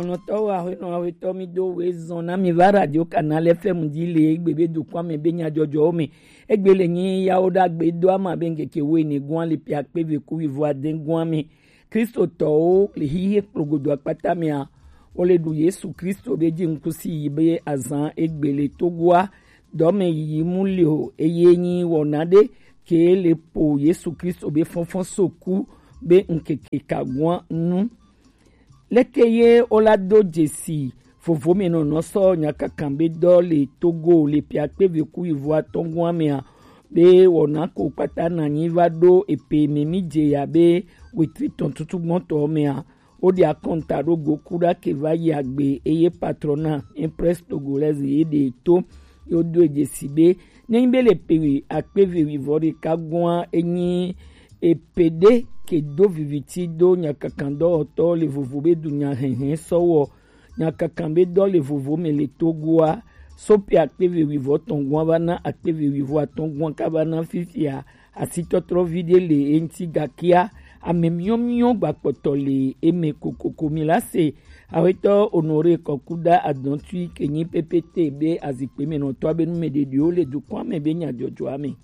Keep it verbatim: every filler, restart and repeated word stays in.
Nɔtɔwo, aƒenɔ, aƒetɔ, mi do we zɔn na mi va Radio Canal F M dzi le egbe be dukɔa me be nyadzɔdzɔwo me. Egbe le nyi yawo ɖagbe do ama be ŋkeke wo ene gɔa le ƒe akpe eve ku wuivo ade gɔa me. Kristotɔwo le xixe kplogodo akpata mea, wo le ɖu Yesu Kristo be dzi ŋkusi yi be azan egbe le Togoa dɔme yiyi mu le o, eye nyi wɔna ɖe ke le po Yesu Kristo be fɔnfɔn so ku be ŋkeke ka gɔa nu. Leke ye wola do dzesi vovo me nɔnɔ sɔ nyakakan be dɔ le Togo le ƒe akpe eve ku wuivo atɔ̃ gɔa mea, be wɔna ko kpata na nyi va ɖo epe me mi dze ya be wetri tɔn tutu gbɔntɔ mea, wo ɖe akɔnta ɖo go ku ɖa ke va yi agbe eye patrona Empress Togolaise ye ɖe to yo do dzesi be ne nyi be le pe akpe eve wuivo ɖeka gɔa enyi epe ɖe ke do viviti do nyakakan dɔwɔtɔ le vovo be dunya hɛhɛ sɔwɔ nyakakan be dɔ le vovo me le Togoa, so pe akpe eve wuivo tɔn gɔa va na akpe eve wuivo atɔ̃ gɔa ka va na fifia, asitɔtrɔvi ɖe le eŋti gakea ame miɔmiɔ gbakpɔtɔ le eme kokoko. Mi la se aƒetɔ Honoré Kɔkuda Adɔntui ke nyi P P T be azikpe me nɔtɔa be numeɖeɖewo le dukɔa me be nyadzɔdzɔa me.